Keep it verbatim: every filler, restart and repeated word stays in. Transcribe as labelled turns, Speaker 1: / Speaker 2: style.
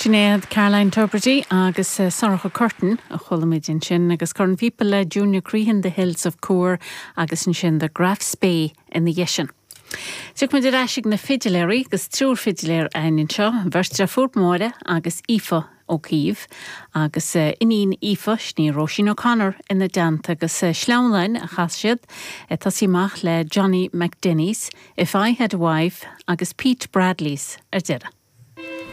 Speaker 1: Sinéad Caroline Tubridy agus uh, Sorcha Curtin a chuala muid ansin agus Corn Phíopa le Junior Crehan the Hills of Cúr agus ansin the Graf Spee ina dhiaidh sin. Tiocfaimid ar ais ag na fidiléirí agus triúr fidiléir againn anseo, beirt deirfiúr Máire agus Aoife O'Keefe agus uh, iníon Aoife sin í Róisín O'Connor ina dteannta agus uh, sleamhnáin a chas siad tosú amach le Johnny McDenny's, If I Had a Wife agus Pete Bradley's ar deireadh.